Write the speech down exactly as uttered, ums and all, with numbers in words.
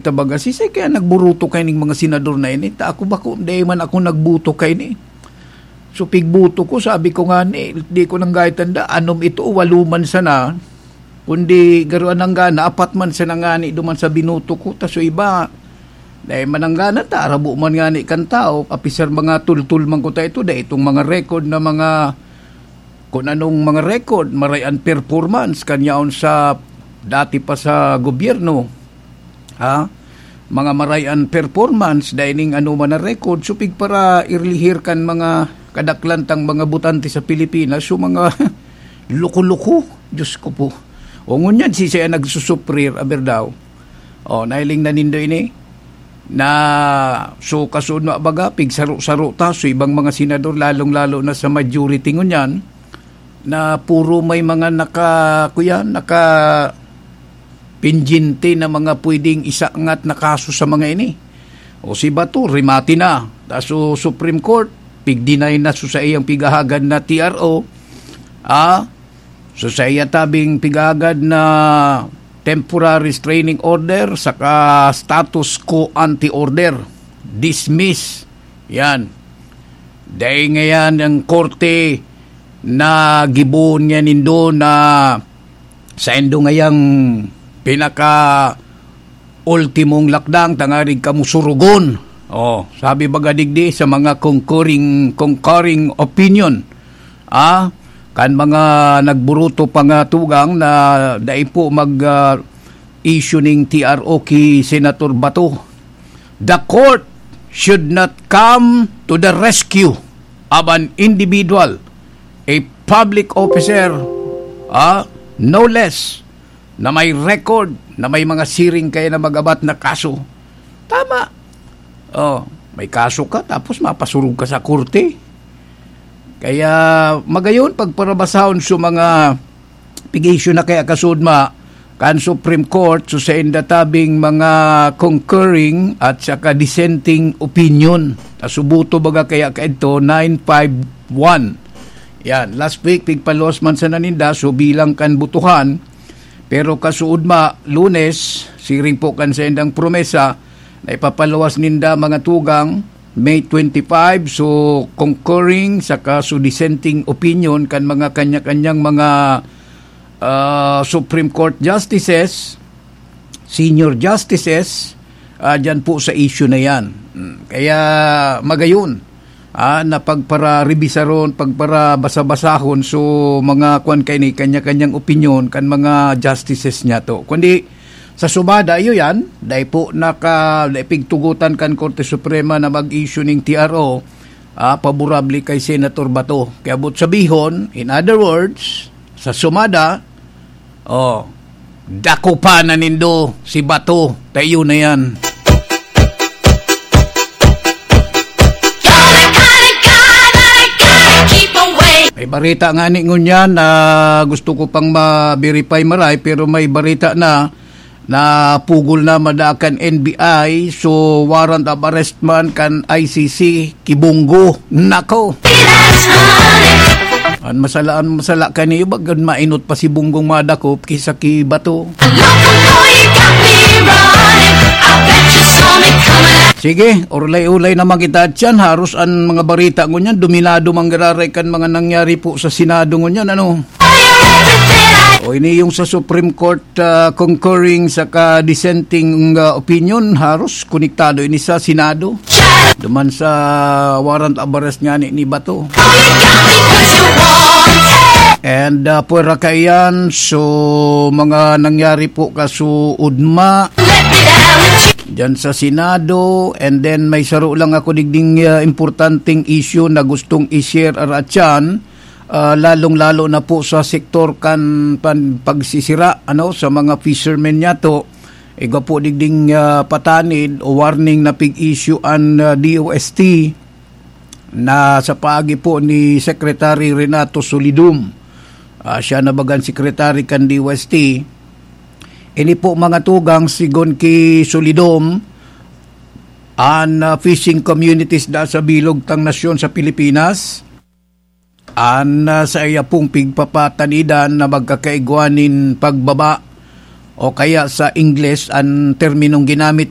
Tabaga, sisay kaya nagburuto kaining mga senador na ini? Ta ako bako, dai man ako nagbuto kaini. So, pigbuto ko, sabi ko nga ni, di ko nang gaytan da, anom ito, walo man sana. Kundi, garo anang gana, apat man sana ngani duman sa binuto ko. Ta so iba, dai man ang gana ta, arabo man ngani kan tao, apisar mga tultul man ko ta ito, dai itong mga record na mga, kung anong mga record, maray an performance, kanyaon sa dati pa sa gobyerno. Ha? Mga maray an performance, dai ning anoman na record, supig para irlihir kan mga kadaklan tang mga botante sa Pilipinas, so mga loko-loko, Diyos ko po. O ngunyan, sisay an nagsusuprir, aber daw. O, nailing na nindo ini? Na, so, kasunod na baga, pigsaro-saro ta, so ibang mga senador, lalong-lalo na sa majority ngunyan, na puro may mga naka, kuya, naka pendyente na mga pwedeng isangat na kaso sa mga ini. O si Bato, rimati na. Ta so Supreme Court, pigdinay na so sa iyang pigahagad na T R O, ah, so sa iya tabing pigahagad na temporary restraining order saka status quo ante order. Dismiss. Yan. Dahil ngayon ang korte na gibohon niya nindo na saindo ngayang pinaka ultimong lakdang tangarig kamo surugon. Oh, sabi baga digdi sa mga concurring, concurring opinion, ah, kan mga nagburuto pa nga tugang na dai po mag, ah, issue ning T R O ki Senator Bato. The court should not come to the rescue of an individual, a public officer, ah, no less, na may record, na may mga siring kaya na magabat na kaso. Tama. Oh, may kaso ka, tapos mapasurog ka sa korte. Kaya, magayon, pagparabasahon sa mga pig-issue na kaya kasudma kan Supreme Court, so sa inda tabing mga concurring at saka dissenting opinion. Asubuto baga kaya kaidto, nine five one. Yan, last week, pigpaluwas man sa naninda, so bilang kan butuhan, pero kasuudma, Lunes, siring po kan sa indang promesa, na ipapaluwas ninda mga tugang, May twenty-five, so concurring saka so dissenting opinion kan mga kanya-kanyang mga, ah, Supreme Court justices, senior justices, ah, dyan po sa issue na yan. Mm, kaya magayon, ah, na pagpararebisaron, pagparabasa-basahon, so mga kwan kaini, kanya-kanyang opinion kan mga justices niya to. Kundi, sa sumada, iyo yan, dai po naka, dai pigtugotan kan Korte Suprema na mag-issue ning T R O, ah, paborable kay Senator Bato. Kaya but sabihon, in other words, sa sumada, oh, dakupan na nindo si Bato, ta iyo na yan. May barita nga ni ngunyan na gusto ko pang ma-verify maray, pero may barita na na pugol na mada kan N B I, so warrant of arrest man kan I C C, kibunggo. Nako! An masala, an masala kaniyo, bagan mainot pa si Bunggong madakop kisa ki Bato. Sige, urlay-ulay naman kita dyan. Haros an mga barita ngunyan, dominado man giraray kan mga nangyari po sa Senado ngunyan, ano? O ini yung sa Supreme Court, ah, concurring saka dissenting, ah, opinion, haros konektado ini sa Senado. Duman sa warrant of arrest nga ni, ni Bato. And, ah, pwera kaiyan, so mga nangyari po kasuudma dyan sa Senado, and then may saro lang ako digding, ah, importanteng issue na gustong i-share aratyan, ah, lalong-lalo na po sa sektor kan pan-, pagsisira, ano, sa mga fishermen niyato. Igwa po digding, ah, patanid o warning na pig-issue an, ah, D O S T na sa paagi po ni Secretary Renato Solidum. Ah, siya na bagan secretary kan D O S T. Ini po mga tugang, sigon ki Solidum, an, ah, fishing communities da sa bilog tang nasyon sa Pilipinas, an, ah, sa iya pong pigpapatanidan na magkakaigwa nin pagbaba o kaya sa Ingles, ang terminong ginamit